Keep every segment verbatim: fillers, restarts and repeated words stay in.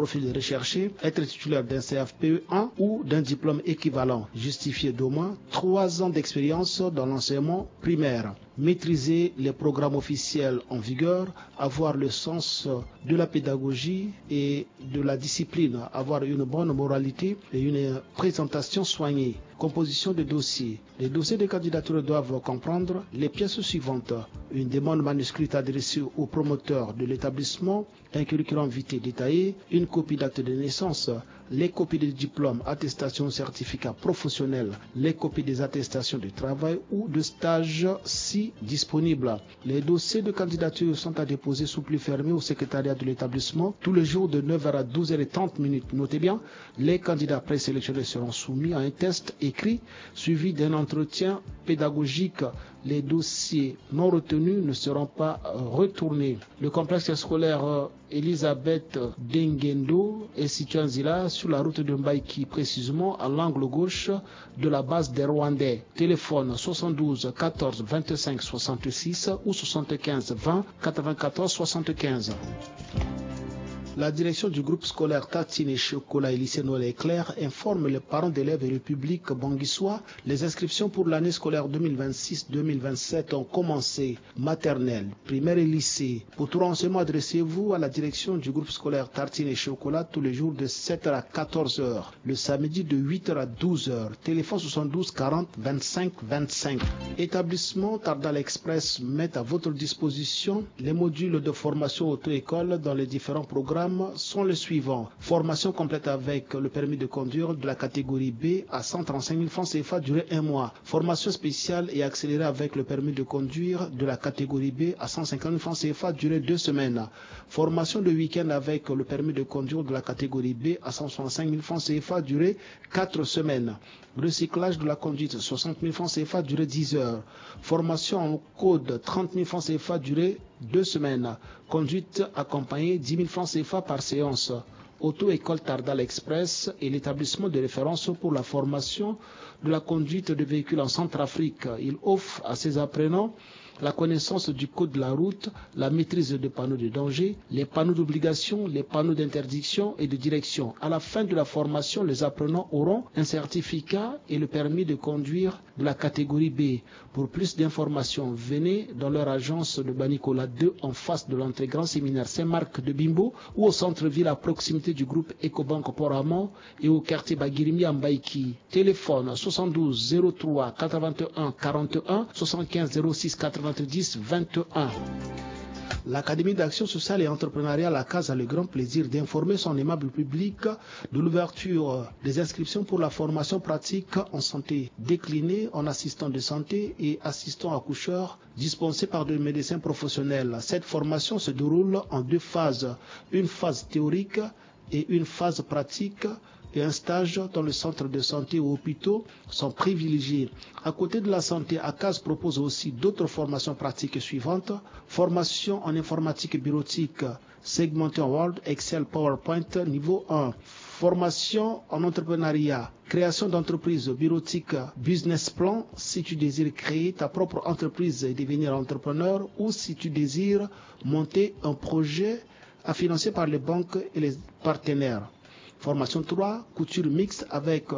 profil recherché, être titulaire d'un C F P E un ou d'un diplôme équivalent justifié d'au moins trois ans d'expérience dans l'enseignement primaire. Maîtriser les programmes officiels en vigueur, avoir le sens de la pédagogie et de la discipline, avoir une bonne moralité et une présentation soignée. Composition de dossiers. Les dossiers de candidature doivent comprendre les pièces suivantes. Une demande manuscrite adressée au promoteur de l'établissement, un curriculum vitae détaillé, une copie d'acte de naissance, les copies des diplômes, attestations, certificats professionnels, les copies des attestations de travail ou de stage si disponible. Les dossiers de candidature sont à déposer sous pli fermé au secrétariat de l'établissement tous les jours de neuf heures à douze heures et trente minutes. Notez bien, les candidats présélectionnés seront soumis à un test écrit suivi d'un entretien pédagogique. Les dossiers non retenus ne seront pas retournés. Le complexe scolaire Elisabeth Dengendo est situé en Zila, sur la route de Mbaïki, précisément à l'angle gauche de la base des Rwandais. Téléphone soixante-douze quatorze vingt-cinq soixante-six ou soixante-quinze vingt quatre-vingt-quatorze soixante-quinze. La direction du groupe scolaire Tartine et Chocolat et lycée Noël Éclair informe les parents d'élèves et le public banguissois. Les inscriptions pour l'année scolaire deux mille vingt-six deux mille vingt-sept ont commencé. Maternelle, primaire et lycée. Pour tout renseignement, adressez-vous à la direction du groupe scolaire Tartine et Chocolat tous les jours de sept heures à quatorze heures, le samedi de huit heures à douze heures. Téléphone soixante-douze quarante vingt-cinq vingt-cinq. Établissement Tardal Express met à votre disposition les modules de formation auto-école dans les différents programmes sont les suivants. Formation complète avec le permis de conduire de la catégorie B à cent trente-cinq mille francs C F A, durée un mois. Formation spéciale et accélérée avec le permis de conduire de la catégorie B à cent cinquante mille francs C F A, durée deux semaines. Formation de week-end avec le permis de conduire de la catégorie B à cent soixante-cinq mille francs C F A, durée quatre semaines. Recyclage de la conduite, soixante mille francs C F A, durée dix heures. Formation en code, trente mille francs C F A, durée deux semaines. Conduite accompagnée, dix mille francs C F A par séance. Auto-école Tardal Express est l'établissement de référence pour la formation de la conduite de véhicules en Centrafrique. Il offre à ses apprenants la connaissance du code de la route, la maîtrise des panneaux de danger, les panneaux d'obligation, les panneaux d'interdiction et de direction. À la fin de la formation, les apprenants auront un certificat et le permis de conduire de la catégorie B. Pour plus d'informations, venez dans leur agence de Banicola deux en face de l'entrée Grand Séminaire Saint-Marc de Bimbo ou au centre-ville à proximité du groupe Ecobank Port Amont et au quartier Bagirimi à Mbaïki. Téléphone soixante-douze zéro trois quatre-vingt-un quarante et un, soixante-quinze zéro six quatre-vingt-dix vingt et un. L'Académie d'action sociale et entrepreneuriale La Case a le grand plaisir d'informer son aimable public de l'ouverture des inscriptions pour la formation pratique en santé déclinée en assistant de santé et assistant accoucheur dispensée par des médecins professionnels. Cette formation se déroule en deux phases, une phase théorique et une phase pratique et un stage dans le centre de santé ou hôpitaux sont privilégiés. À côté de la santé, A C A S propose aussi d'autres formations pratiques suivantes. Formation en informatique bureautique, segmentée en Word, Excel, PowerPoint, niveau un. Formation en entrepreneuriat, création d'entreprise bureautique, business plan, si tu désires créer ta propre entreprise et devenir entrepreneur, ou si tu désires monter un projet financé par les banques et les partenaires. Formation trois, couture mixte avec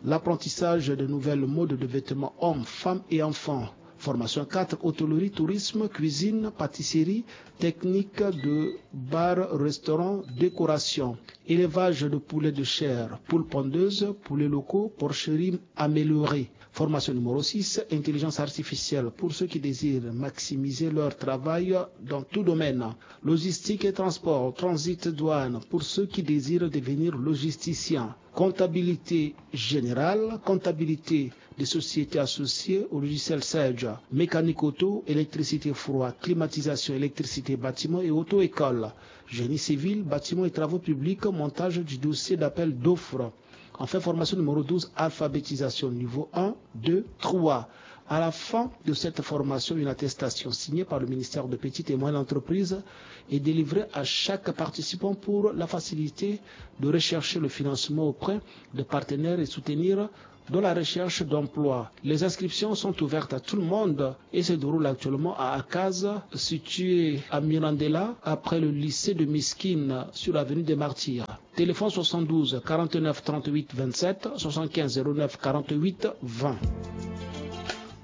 l'apprentissage de nouvelles modes de vêtements hommes, femmes et enfants. Formation quatre, hôtellerie, tourisme, cuisine, pâtisserie, technique de bar, restaurant, décoration. Élevage de poulets de chair, poules pondeuses, poulets locaux, porcherie améliorée. Formation numéro six, intelligence artificielle pour ceux qui désirent maximiser leur travail dans tout domaine. Logistique et transport, transit, douane pour ceux qui désirent devenir logisticien. Comptabilité générale, comptabilité des sociétés associées au logiciel Sage, mécanique auto, électricité froid, climatisation, électricité bâtiment et auto-école, génie civil, bâtiment et travaux publics, montage du dossier d'appel d'offres. Enfin, formation numéro douze, alphabétisation niveau un, deux, trois. À la fin de cette formation, une attestation signée par le ministère de Petites et Moyennes Entreprises est délivrée à chaque participant pour la facilité de rechercher le financement auprès de partenaires et soutenir dans la recherche d'emploi. Les inscriptions sont ouvertes à tout le monde et se déroulent actuellement à A C A S, situé à Mirandela, après le lycée de Miskine, sur l'avenue des Martyrs. Téléphone soixante-douze quarante-neuf trente-huit vingt-sept, soixante-quinze zéro neuf quarante-huit vingt.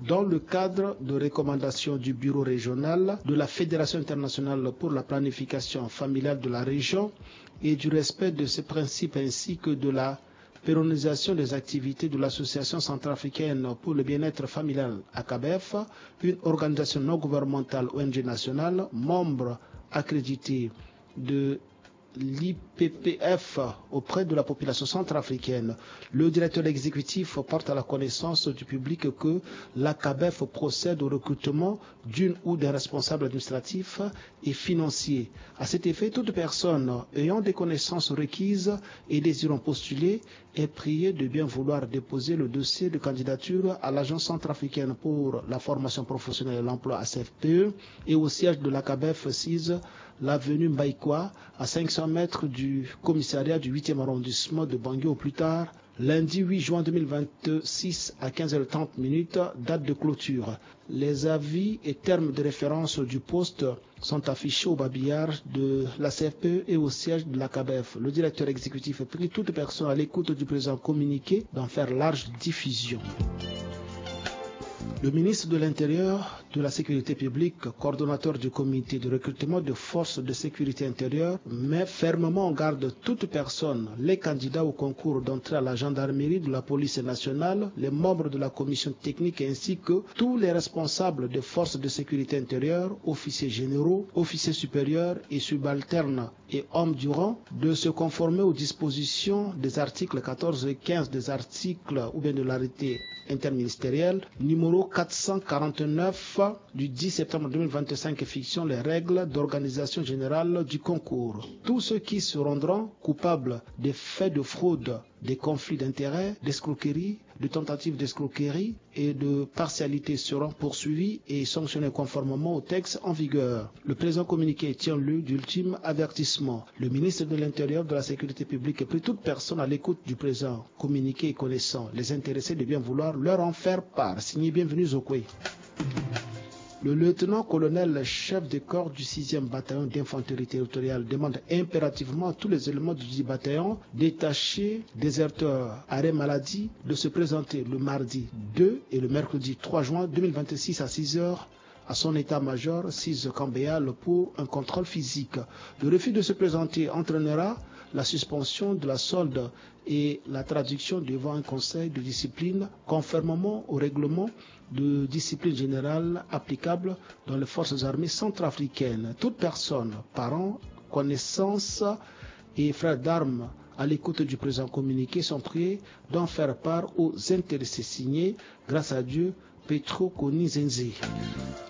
Dans le cadre de recommandations du Bureau régional de la Fédération internationale pour la planification familiale de la région et du respect de ses principes ainsi que de la pérennisation des activités de l'Association centrafricaine pour le bien-être familial, A C A B F, une organisation non gouvernementale, O N G nationale, membre accrédité de l'I P P F auprès de la population centrafricaine. Le directeur exécutif porte à la connaissance du public que l'A C A B F procède au recrutement d'une ou d'un responsable administratif et financier. À cet effet, toute personne ayant des connaissances requises et désirant postuler est priée de bien vouloir déposer le dossier de candidature à l'Agence centrafricaine pour la formation professionnelle et l'emploi, A C F P E, et au siège de l'A C A B F, six, l'avenue Mbaïkoua, à cinq cents mètres du commissariat du huitième arrondissement de Bangui au plus tard lundi huit juin deux mille vingt-six à quinze heures trente minutes, date de clôture. Les avis et termes de référence du poste sont affichés au babillard de l'A C F P E et au siège de l'A C A B F. Le directeur exécutif prie toute personne à l'écoute du présent communiqué d'en faire large diffusion. Le ministre de l'Intérieur, de la Sécurité publique, coordonnateur du comité de recrutement de forces de sécurité intérieure, met fermement en garde toute personne, les candidats au concours d'entrée à la gendarmerie, de la police nationale, les membres de la commission technique ainsi que tous les responsables de forces de sécurité intérieure, officiers généraux, officiers supérieurs et subalternes et hommes du rang, de se conformer aux dispositions des articles quatorze et quinze des articles ou bien de l'arrêté interministériel numéro quatre cent quarante-neuf du dix septembre deux mille vingt-cinq fixant les règles d'organisation générale du concours. Tous ceux qui se rendront coupables des faits de fraude, des conflits d'intérêts, d'escroquerie, de tentatives d'escroquerie et de partialité seront poursuivis et sanctionnés conformément au texte en vigueur. Le présent communiqué tient lieu d'ultime avertissement. Le ministre de l'Intérieur, de la Sécurité publique prie toute personne à l'écoute du présent communiqué et connaissant les intéressés de bien vouloir leur en faire part. Signé Bienvenu Zokwe. Le lieutenant-colonel, chef de corps du sixième bataillon d'infanterie territoriale, demande impérativement à tous les éléments du dix bataillon, détachés, déserteurs, arrêt maladie, de se présenter le mardi deux et le mercredi trois juin deux mille vingt-six à six heures à son état-major, six Camp Béal, pour un contrôle physique. Le refus de se présenter entraînera la suspension de la solde et la traduction devant un conseil de discipline conformément au règlement de discipline générale applicable dans les forces armées centrafricaines. Toute personne, parent, connaissance et frère d'armes à l'écoute du présent communiqué sont priés d'en faire part aux intéressés. Signé, grâce à Dieu, Petro Koni Zenze.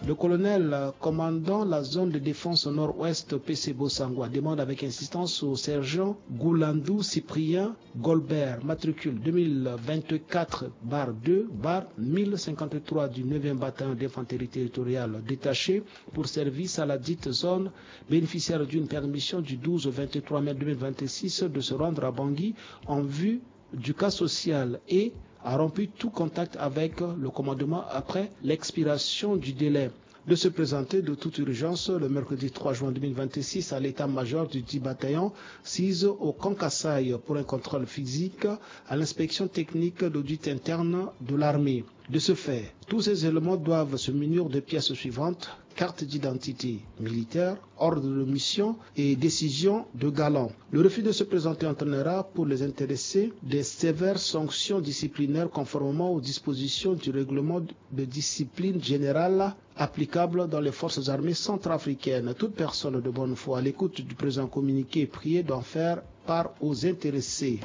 Le colonel commandant la zone de défense nord-ouest, P C Bosangwa, demande avec insistance au sergent Goulandou Cyprien Golbert, matricule deux mille vingt-quatre barre deux barre mille cinquante-trois du neuvième bataillon d'infanterie territoriale détaché pour service à la dite zone, bénéficiaire d'une permission du douze au vingt-trois mai deux mille vingt-six, de se rendre à Bangui en vue du cas social et a rompu tout contact avec le commandement après l'expiration du délai de se présenter de toute urgence le mercredi trois juin deux mille vingt-six à l'état-major du dix bataillon, six au camp Kasaï, pour un contrôle physique à l'inspection technique d'audit interne de l'armée. De ce fait, tous ces éléments doivent se munir des pièces suivantes : carte d'identité militaire, ordre de mission et décision de galant. Le refus de se présenter entraînera pour les intéressés des sévères sanctions disciplinaires conformément aux dispositions du règlement de discipline générale applicable dans les forces armées centrafricaines. Toute personne de bonne foi à l'écoute du présent communiqué est priée d'en faire part aux intéressés.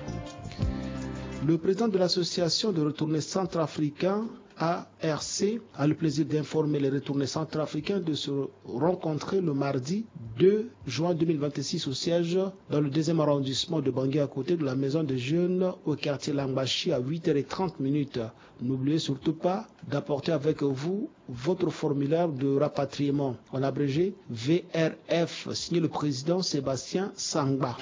Le président de l'association de retournés centrafricains, A R C, a le plaisir d'informer les retournés centrafricains de se rencontrer le mardi deux juin deux mille vingt-six au siège dans le deuxième arrondissement de Bangui, à côté de la maison des jeunes, au quartier Langbashi, à huit heures et trente minutes. N'oubliez surtout pas d'apporter avec vous votre formulaire de rapatriement, en abrégé V R F, signé le président Sébastien Sangba.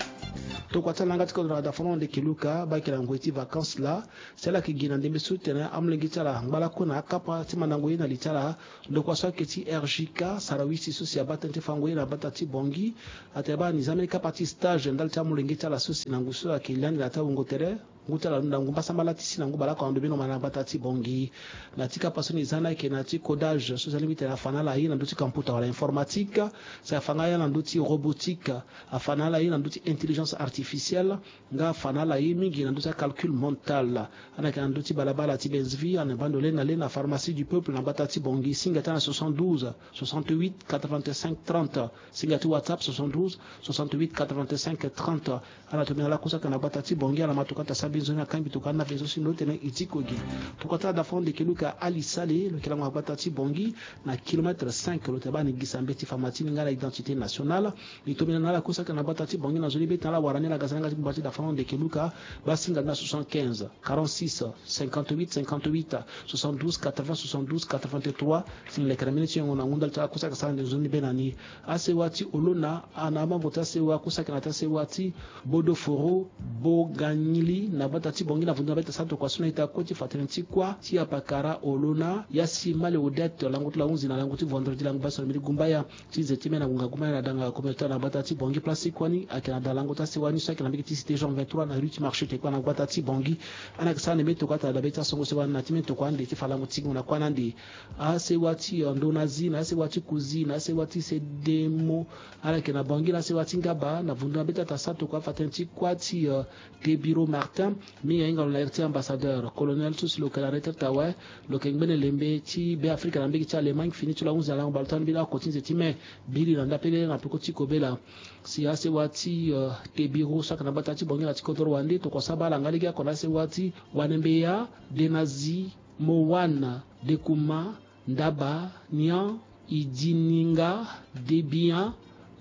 Tokua ti ala nga ti kodro na dafono ndeke Luka, baa yeke na ngoi ti vacances laa, si ala yeke gi na ndembe so ti tene amolenge ti ala angba lakue na akapa ti mandango ye na li ti ala. Ndokua so ayeke ti R J K, sarawisi so si abaa tënë ti fango ye na gbata ti Bangui. Atene baa ni za mbeni kapa ti stage ndali ti amolenge ti ala so si na ngu so ayeke liani na ya ti awungo tere. Ngu ti ala na ngu mbasambala ti si na ngu baleoko ando bino ma na gbata ti Bangui. Na ti kapa so ni za ni ayeke na ti codage so za lingbi tene afa na ala ye na ndö ti kamputa wala informatique. Si afa nga ye na ndö ti robotique. Afa na ala ye na ndö ti intelligence artificielle. Nga afa na ala ye mingi na ndö ti acalcul mental. Ana yeke na ndö ti balabala ti Benzvi, ana bando le na le na pharmacie du peuple na gbata ti Bangui. Singa ti ana soixante-douze, soixante-huit, quatre-vingt-cinq, trente. Singa ti WhatsApp soixante-douze, soixante-huit, quatre-vingt-cinq, trente. Ala tombela ala kusa ka na gbata ti Bangui, ala ma tokua ti asara mbeni nzoni, akangbi tokua ni na mbi so si ndo tene e diko gi. Tokua ti ala dafono ndeke Luka Ali Sale, lo yeke lango na gbata ti Bangui, na kilomètre cinq, lo tene baa ni gisa mbeti fa ma ti ni nga na identité nationale. Li tombela na ala kusa ka na gbata ti Bangui na nzoni be tene ala wara ni ala ga sara nga ti gbata ti dafono ndeke Luka, baa singa ni na soixante-quinze, quarante-six, cinquante-huit, cinquante-huit, soixante-douze, quatre-vingts, soixante-douze, quatre-vingt-trois, si ni leke na mbeni ti yongo na ngu ndali ti ala kusa ka sara nde nzoni be na ni. Asewa ti Olona, ana amambo ti asewa kusa ka na ti asewa ti Bodoforo, Boganyili, na gbata ti Bangui na vundu na be ti asara tokua so na ita kue ti fa tënë ti kuâ ti apakara Olona, ya si Male Odette, lango ti lahunzi na lango ti vendredi lango basi na mbeni gumbaya. Ti ze ti me na ngonga gumbaya na danga communautaire na gbata ti Bangui, place ti kuâ ni ayeke na da lango ti asewa ni so ayeke na mbege ti cité Jean vingt-trois na rue ti marché tekua na gbata ti Bangui. Ana yeke sara nde mbeni tokua ata da be ti asongo sewa ni na ti mbeni tokua ande ti fa lango ti gingo na kuâ ni ande. Asewa ti, eh, Ndonazi, na asewa ti Kuzi, na asewa ti Sedemo. Ala yeke na Bangui, na asewa ti Ngaba, na vundu na be ti ata sara tokua afa tënë ti kuâ ti, eh, Tebiro Martin, mingi ahinga lo na iri ti ambassadeur, colonel so si lo yeke na retraite awe, lo yeke ngbene lembe ti Beafrika na mbege ti Allemagne, fini ti lo ahunzi na lango baleota ni mbeni oko ti nze ti me, biri na ndapele na peko ti kobela. Si asewa ti, eh, Tebiro so ayeke na gbata ti Bangui na ti kodro wande, tokua sara baa ala nga lege oko na asewa ti Wanembeya, Denazi, Mowana, Dekuma, Ndaba, Nian, Idininga, Debian,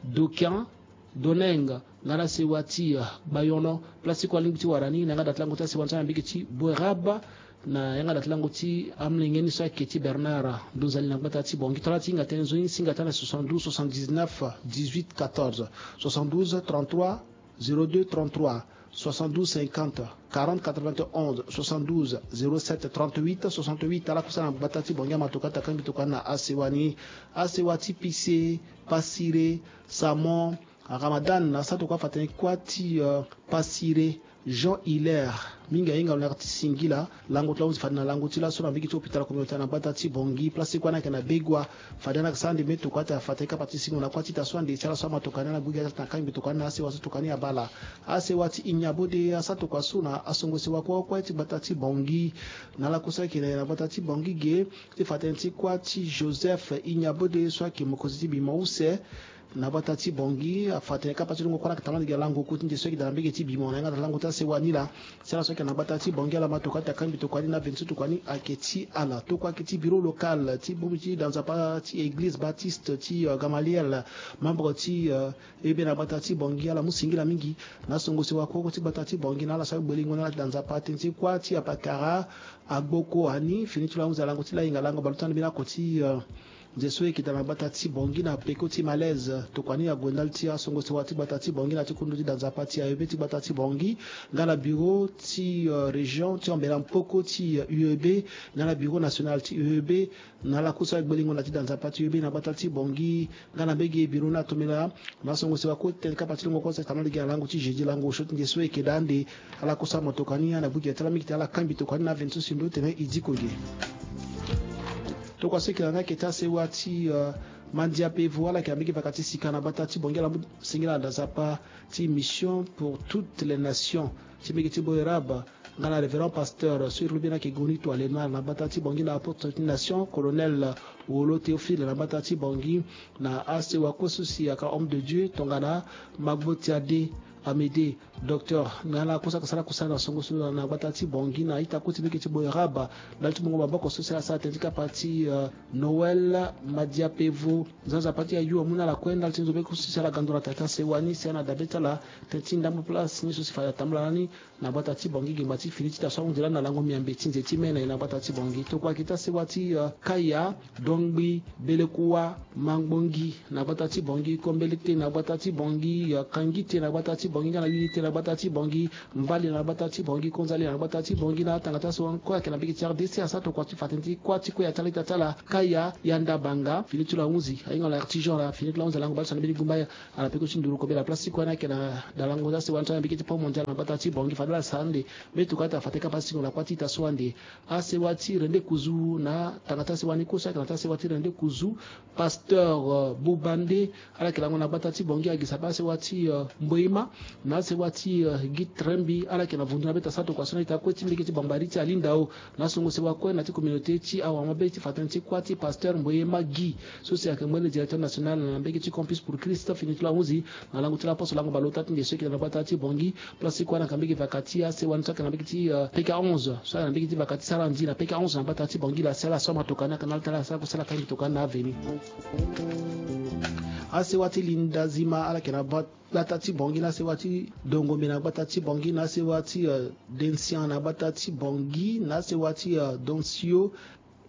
Dokian, Doneng, nga na sewa ti, eh, Bayono, place ti kue alingbi ti wara ni, na yanga da ti lango ti asewa ni so na mbege ti Boerab, na yanga da ti lango ti amolenge ni so ayeke ti Bernard Ndonzali na gbata ti Bangui. Tara ti hinga tënë nzoni, singa ti ala soixante-douze soixante-dix-neuf dix-huit quatorze, soixante-douze trente-trois zéro deux trente-trois, soixante-douze cinquante quarante quatre-vingt-onze, soixante-douze zéro sept trente-huit soixante-huit. Ala kusa na gbata ti Bangui ama tokua ti akangbi tokua ni na asewa ni. Asewa ti Pise, Pasire, Samon, Ramadan, asara tokua afa tënë ti kuâ ti, eh, Pasire, Jean Hilaire, mingi ahinga lo na yanga ti singila, lango ti lahunzi fade na lango ti laso na mbege ti hôpital communautaire na gbata ti Bangui, place ti kuâ ni ayeke na Begua. Fade ana yeke sara nde mbeni tokua ata afa tënë ti kapa ti singo na kuâ ti ita so ande ti ala so ama tokua ni ala gbu gi ata na kangbi tokua ni na asewa so tokua ni abaa ala. Asewa ti Ignabode asara tokua so na asongo sewa kue kue ti gbata ti Bangui. Na ala kusa ayeke na gbata ti Bangui ge, ti fa tënë ti kuâ ti Joseph Ignabode so ayeke mokonzi ti bimo use. Na gbata ti Bangui, afa tënë kapa ti longo kue ala yeke tara lege na lango kue ti nze so ayeke daa na mbege ti bimo na yanga daa lango ti asewa ni laa. Ti ala so ayeke na gbata ti Bangui ala ma tokua ti akangbi tokua ni na veni so tokua ni ayeke ti ala. Tokua ayeke ti bureau local ti bongbi ti da nzapa ti église baptiste ti, eh, Gamaliel, membre ti, eh, E B na gbata ti Bangui, ala mu singila mingi na asongo sewa kue kue ti gbata ti Bangui na ala so agbelengo na ala ti da nzapa tënë ti kuâ ti apakara, agboko ani, fini ti lo ahunzi na lango ti lahinga lango baleota ni mbeni oko ti, eh, nze so e yeke daa na gbata ti Bangui na peko ti malaise. Tokua ni ague ndali ti asongo sewa ti gbata ti Bangui na ti kundu ti da nzapa ti A E B ti gbata ti Bangui, nga na bureau ti, eh, région ti ambela mpoko ti, eh, U E B, nga na bureau national ti U E B, na ala kusa agbelengo na ti da nzapa ti U E B na gbata ti Bangui, nga na mbege bureau ni atombela na asongo sewa kue ti tënë kapa ti longo kue so ayeke tara lege na lango ti jeudi lango osio ti nze so e yeke daa ande. Ala kusa motoka ni ana gbu gi ti ala mingi ti ala kangbi tokua ni na veni so si ndo tene e diko ge. Tokua so e yeke na ni ayeke ti asewa ti, eh, Mandia Pevo, ala yeke na mbege vaka ti sika na gbata ti Bangui, ala mu singila na da nzapa ti Mission pour toutes les nations ti mbege ti Boerab, nga na révérend pasteur so iri lo beni ayeke Goni Toile Noire na gbata ti Bangui, na apôtre ti nation, colonel Wolo Théophile na gbata ti Bangui, na asewa kue so si ayeke homme de Dieu tongana Magbo Tiade Amédée, Docteur na ala kosaka sara kosala na songo so na gbata ti Bangui na ita kue ti mbege ti Boeraba. Ndali ti mungo maboko so si ala sara tënë ti kapa ti, euh, Noël Madiapevo. Nzanza pati ayu amu na ala kue ndali ti nzo be kue so si ala ga ndo na tata sewa ni si ana dabe ti ala tënë ti ndambo place ni so si fade atambula lani. Na gbata ti Bangui gengba ti fini ti ta so ahunzi lani na lango miambe ti nze ti mene na gbata ti Bangui. Tokua yeke ti asewa ti, euh, Kaya, Dongbi, Belekua, Mangbongi na gbata ti Bangui, Kombelete na gbata ti Bangui, euh, Kangite na gbata ti Bangui, nga na Lilite na gbata ti Bangui, Mbali na gbata ti Bangui, Konzali na gbata ti Bangui, na atanga ti asewa ni kue ayeke na mbege ti R D C asara tokua ti fa tënë ti kuâ ti kue ya ti ala ita ti ala Kaya, Yanda Banga, fini ti lo ahunzi ahinga lo artisan la, fini ti lo ahunzi alango bale so na mbeni gumba ya. Ala peko ti nduru kobela place ti kue ni ayeke na dalango ti asewa ni so na mbege ti Pont Mondial na gbata ti Bangui, fade ala sara ande. Mbi tokua ti afa tënë kapa ti singo na kuâ ti ita so ande. Asewa ti Rende Kuzu na tanga ti asewa ni kue so ayeke na ti asewa ti Rende Kuzu, pasteur, euh, Bobande, ala yeke lango na gbata ti Bangui, agisa baa asewa ti, euh, Mboima na asewa ti, euh, Guy Trembi, ala yeke na vundu na be ta sara tokua so na ita kue ti mbege ti Bambari ti Alindao, na songo sewa kue na ti communauté ti awa mabe ti fa tënë ti kuâ ti pasteur Mboima Guy, so si ayeke mbeni directeur national na mbege ti Campus pour Christ, fini ti lo ahunzi na lango ti laposo lango bale ota ti nde so ayeke na gbata ti Bangui. Place ti kue ala yeke na mbege vaka ti asewa ni so ayeke na mbege ti, euh, P K onze, so ayeke na mbege ti vaka ti Sarandi na P K onze na gbata ti Bangui la, si ala so amatoka ni ayeke na ala ti ala sara kue si ala kangi toka ni na aveni. Asewa ti Linda Zima ala yeke na gbata ti Bangui, na asewa ti Dongombe na gbata ti Bangui, na asewa ti, euh, Densian na gbata ti Bangui, na asewa ti, euh, Donsio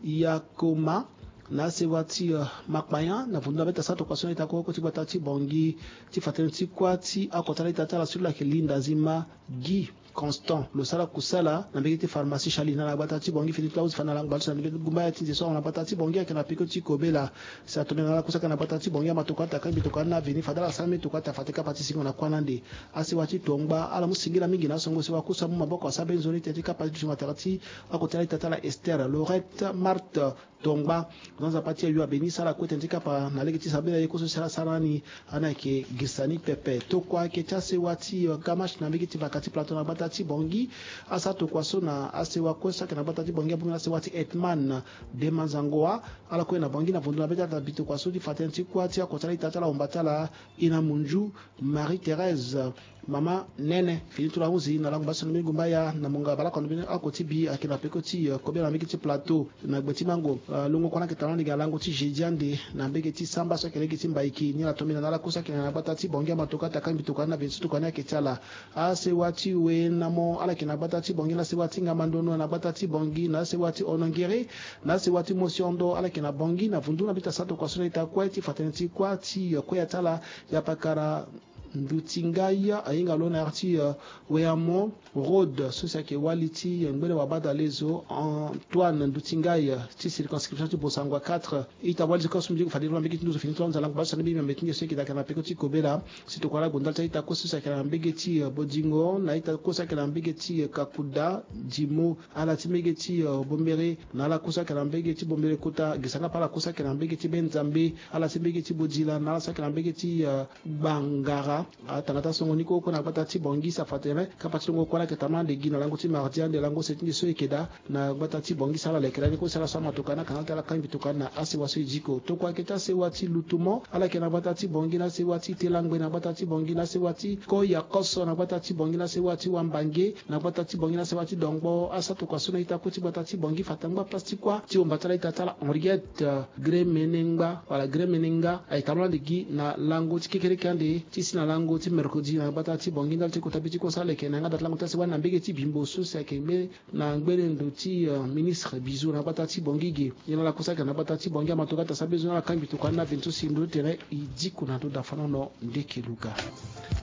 Yakoma, na asewa ti, euh, Makpayan, na vundu na be ta sara tokua so na ita kue ti gbata ti Bangui ti fa tënë ti kuâ ti akota la ita ti ala so lo yeke Linda Zima Guy Constant, lo sara kusala na mbege ti pharmacie Charlie na gbata ti Bangui, fini ti lo ahunzi fade na lango bale so na mbeni gumba ya ti nze so awa na gbata ti Bangui ayeke na peko ti kobela. Si atongbi na ala kue so ayeke na gbata ti Bangui, amatoka ti akangi mbi tokua ni na aveni, fade ala sara mbi tokua ti afa tënë kapa ti singo na kuâ ni ande. Asewa ti Tongba, ala mu singila mingi na asongo sewa kue so amu maboko asara mbeni nzoni tënë ti kapa ti duti matara ti akota la ita ti ala Esther Laurette Marthe Tongba. Nzanza pati ayu abeni sara kue tënë ti kapa na lege ti sambela ye kue so si ala sara ni. Ani ayeke gisa ni pepe. Tokua ayeke ti asewa ti, euh, Gamache na mbege ti vaka ti Plateau na gbata ti Bangui. Asara tokua so na asewa kue so ayeke na gbata ti Bangui abongbi na asewa ti Hetman Dema Zangoa. Ala kue na Bangui na vundu na be ti ala ta bi tokua so ti fa tënë ti kuâ ti akota la ita ti ala ahomba ti ala Ina Munju, Marie Thérèse, Mama Nene, fini ti lo ahunzi na lango bale so na mbeni gumba ya na monga bale oko na mbeni oko ti bi ayeke na peko ti, euh, kobela na mbege ti Plateau na gbe ti mango. Euh, longo kue na ayeke tara ni gi na lango ti jeudi ande na mbege ti samba so ayeke lege ti Mbaiki, ni ala tongbi na ala kue so ayeke na gbata ti Bangui, amatoka ti akangi mbi tokua ni na aveni so tokua ni ayeke ti ala. Asewa ti Wenamo ala yeke na gbata ti Bangui, na asewa ti Ngamandono na gbata ti Bangui, na asewa ti Onongiri, na asewa ti Mosiondo ala yeke na Bangui, na vundu na mbi ta sara tokua so na ita kue ti fa tënë ti kuâ ti, euh, kue ya ti ala, Yapakara Ndutingai ahinga lo na yâ ti, euh, Weamo Road, so si ayeke wali ti, euh, ngbene wabadalezo Antoine Ndutingai, euh, ti circonscription ti Bossangoa quatre. Ita wali so kue so mbi ye gue fade ti lo na mbege ti nduzu fini ti lo anza lango bale so na mbi miambe ti nde so ayeke daa ayeke na peko ti kobela. Si tokua ala gue ndali ti a-ita kue so si ayeke na mbege ti, euh, Bodingo, na a-ita kue so ayeke na mbege ti, euh, Kakuda, Dimo, ala ti mbege ti, euh, Bombere, na ala kue so ayeke na mbege ti Bombere Kota, gi sanga pa ala kue so ayeke na mbege ti Benzambe, ala ti mbege ti Bodila, na ala so ayeke na mbege ti, euh, Gbangara. Atanga ti asongo ni kue oko na gbata ti Bangui, sa fa tene kapa ti longo kue ala yeke tambula ande gi na lango ti mardi ande lango se ti nde so e yeke daa na gbata ti Bangui, si ala leke lani kue si ala so amatoka ni ayeke na ala ti ala kangi mbi tokua ni na asewa so e diko. Tokua ayeke ti asewa ti Lutumo, ala yeke na gbata ti Bangui, na asewa ti Telangbe na gbata ti Bangui, na asewa ti Koyakoso na gbata ti Bangui, na asewa ti Wambange na gbata ti Bangui, na asewa ti Dongbo. Asara tokua so na a-ita kue ti gbata ti Bangui, fa tangba place ti kuâ ti homba ti ala a-ita ti ala Henriette, euh, Gremenengba wala Gremenenga, aye tambula ande gi na lango ti kekereke ande ti si na lango ti mercredi na gbata ti Bangui ndali ti kota be ti kue so aleke na yanga da ti lango ti asewa ni na mbege ti Bimbo so si ayeke mbeni na ngbene ndo ti, euh, ministre Bizot na gbata ti Bangui ge. Ye na ala kue so ayeke na gbata ti Bangui, amatoka ti asara be zo na ala kangi mbi tokua ni na aveni so si ndo ti tene e diko na ndo dafanono ndeke luga.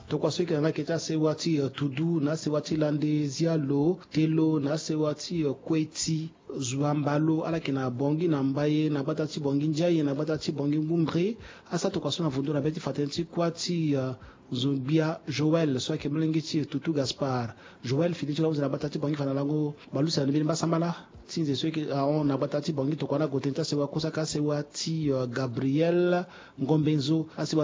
Tokua so e yeke na ni ayeke ti asewa ti, euh, Tudu, na asewa ti Lande, Zialo, Telo, na asewa ti, euh, Kueti, Zuambalo, ala yeke na Bangui na Mbaye, na gbata ti Bangui Ndiaye, na gbata ti Bangui Ngumbre. Asara tokua so na vondo na be ti fa tënë ti kuâ ti, euh, Nzogbia Joël so ayeke molenge ti Tutu Gaspard. Joël fini ti lo ahunzi na gbata ti Bangui fa na lango bale use na ni mbeni mbasambala ti nze so ayeke ahon na gbata ti Bangui. Tokua ni ague tënë ti asewa kue so ayeke asewa ti, euh, Gabriel Ngombenzo. Asewa